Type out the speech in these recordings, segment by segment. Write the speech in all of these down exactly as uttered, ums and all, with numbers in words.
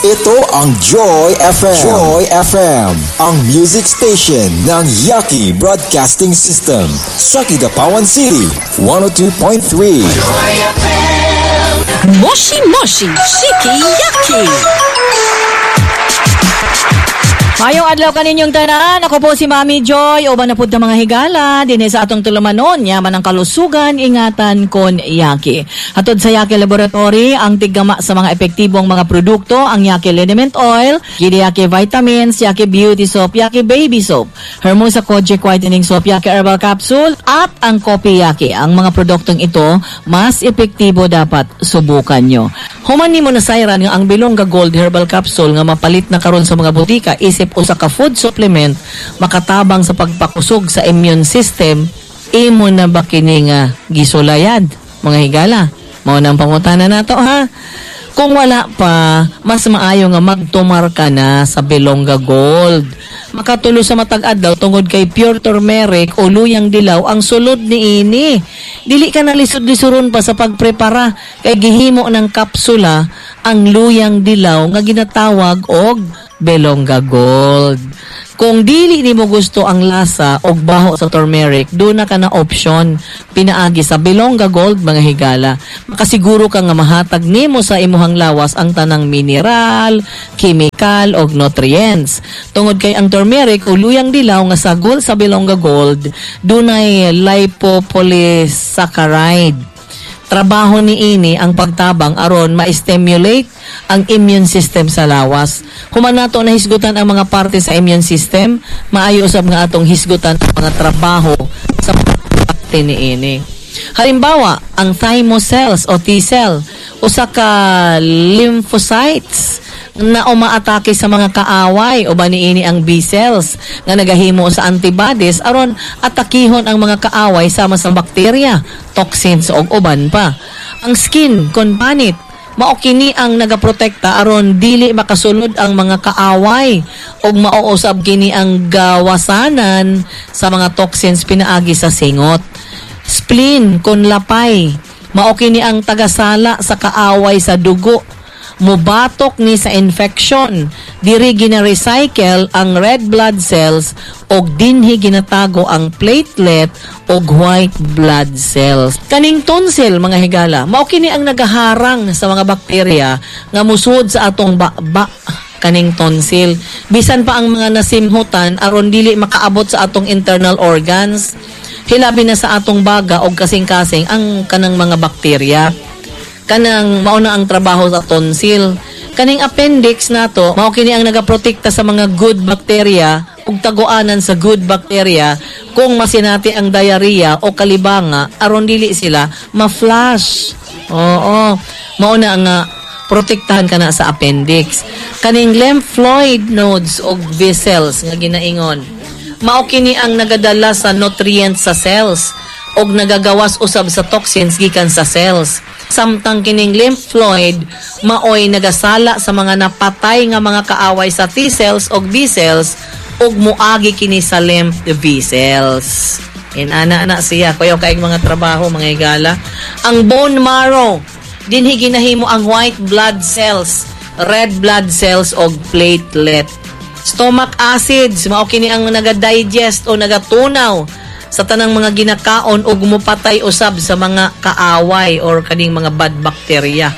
Ito ang Joy F M. Joy F M, ang music station ng Yaki Broadcasting System. Sa Kidapawan City, one oh two point three. Moshi Moshi Shiki Yaki. Mayong adlaw kaninyong tanan. Ako po si Mami Joy. Uban na pud ta, mga higala dinhi sa atong tulumanon. Yaman ang kalusugan, ingatan kon Yaki. Hatod sa Yaki Laboratory, ang tiggama sa mga epektibong mga produkto, ang Yaki Liniment Oil, Gidi Yaki Vitamins, Yaki Beauty Soap, Yaki Baby Soap, Hermosa Kojic Whitening Soap, Yaki Herbal Capsule, at ang Kopi Yaki. Ang mga produktong ito, mas epektibo, dapat subukan nyo. Human nimo nasayran nga ang Bilongga Gold Herbal Capsule nga mapalit na karon sa mga botika isip usa ka food supplement makatabang sa pagpakusog sa immune system, imo na ba kini nga gisulayan, mga higala? Mao nang pangutana nato, ha. Kung wala pa, mas maayo nga magtumar ka na sa Bilongga Gold. Makatulo sa matag adlaw tungod kay pure turmeric o luyang dilaw ang sulod niini. Dili ka na lisod-lisuron pa sa pagprepara kay gihimo ng kapsula ang luyang dilaw nga ginatawag og Bilongga Gold. Kung dili nimo gusto ang lasa og baho sa turmeric, duna ka na option pinaagi sa Bilongga Gold, mga higala. Makasiguro ka nga mahatag nimo sa imuhang lawas ang tanang mineral, chemical og nutrients. Tungod kay ang turmeric o luyang dilaw nga sagol sa Bilongga Gold, dunay lipopolysaccharide. Trabaho ni ini ang pagtabang aron ma-stimulate ang immune system sa lawas. Human nato na hisgutan ang mga parte sa immune system, maayo usab nga atong hisgutan ang mga trabaho sa parte ni ini. Halimbawa, ang thymus cells o T cell, usa ka lymphocytes na umaatake sa mga kaaway, o niini ang B cells nga nagahimo sa antibodies aron atakihon ang mga kaaway sama sa bakterya, toxins ug uban pa. Ang skin kon panit, mao kini ang nagaprotekta aron dili makasulod ang mga kaaway ug mao usab kini ang gawasanan sa mga toxins pinaagi sa singot. Spleen kon lapay, mao kini ang tagasala sa kaaway sa dugo, mubatok ni sa infection. Diri gina-recycle ang red blood cells og dinhi ginatago ang platelet og white blood cells. Kaning tonsil, mga higala, mao kini ang nagaharang sa mga bakterya nga musud sa atong baba. Kaning tonsil, bisan pa ang mga nasimhutan, aron dili makaabot sa atong internal organs, hilabi na sa atong baga og kasing-kasing ang kanang mga bakterya. Kanang mao na ang trabaho sa tonsil. Kaning appendix nato, mao kini ang nagaprotekta sa mga good bacteria ug taguanan sa good bacteria kung masinati ang diarrhea o kalibanga aron dili sila ma-flush. Oo. Mao na nga protektahan ka na sa appendix. Kaning lymphoid nodes og vessels nga ginaingon, mao kini ang nagadala sa nutrients sa cells og nagagawas usab sa toxins gikan sa cells. Samtang kining lymphoid maoy nagasala sa mga napatay nga mga kaaway sa T cells og B cells ug muagi kini sa lymph vessels. Inana na siya, kuyaw kay mga trabaho, mga higala. Ang bone marrow, dinhi ginahimo ang white blood cells, red blood cells og platelet. Stomach acids, mao kini ang naga-digest o nagatunaw sa tanang mga ginakaon ug mupatay usab sa mga kaaway or kaning mga bad bacteria.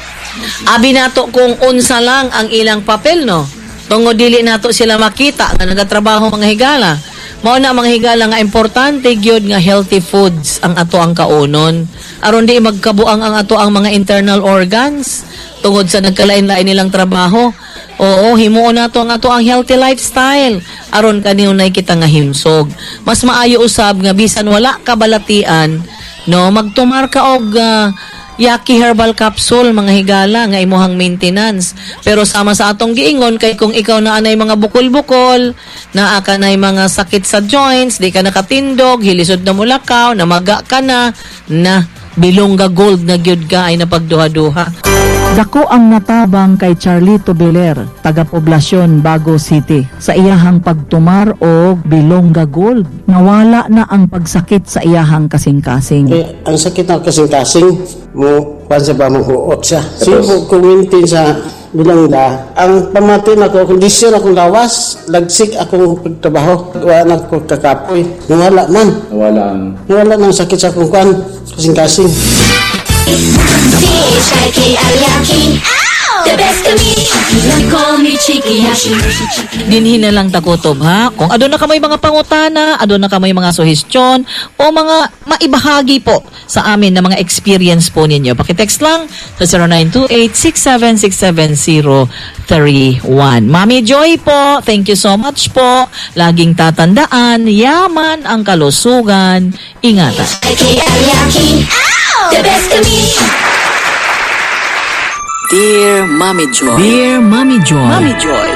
Abi nato kung unsa lang ang ilang papel, no? Tungod dili nato sila makita nga nagatrabaho, mga higala. Mao na, mga higala, nga importante gyud nga healthy foods ang ato ang kaunon aron di magkabuang ang ato ang mga internal organs tungod sa nagkalain-lain nilang trabaho. Oo, himuon nato ang ato ang healthy lifestyle aron kanunay kita nga himsog. Mas maayo usab nga bisan wala ka balatian, no, magtumar ka og ah, Yaki Herbal Capsule, mga higala, nga imuhang maintenance. Pero sama sa atong giingon kay kung ikaw na anay mga bukol-bukol, naa ka nay mga sakit sa joints, di ka nakatindog, hilisod na mulakaw, namaga ka na, na Bilongga Gold na gyud ka ay napagduha-duha. Dako ang natabang kay Charlito Beler, taga Poblasyon, Bago City, sa iyahang pagtumar og Bilongga Gold. Nawala na ang pagsakit sa iyahang kasing-kasing. Eh, ang sakit ng kasing-kasing mo, kuan sa ba mo huot siya. Sige po, kumintin sa Bilangga. Ang pamati nako, kondisyon akong lawas, lagsik akong pagtrabaho. Wala na ko kakapoy. Nawala man. Nawala ang Nawala ng sakit sa akong kwan. Kasing-kasing. C H I K I Yaki. The best kami. Call me Chiki Yashi. Dinhi na lang ta kutob, ha. Kung aduna kamoy mga pangutana, aduna kamoy mga suhestyon o mga maibahagi po sa amin na mga experience po ninyo. Paki-text lang sa zero nine two eight, six seven six seven zero three one. Mami Joy po, thank you so much po. Laging tatandaan, yaman ang kalusugan. Ingatan. C H I K I Yaki. The best kami. Dear Mommy Joy. Dear Mommy Joy. Mommy Joy.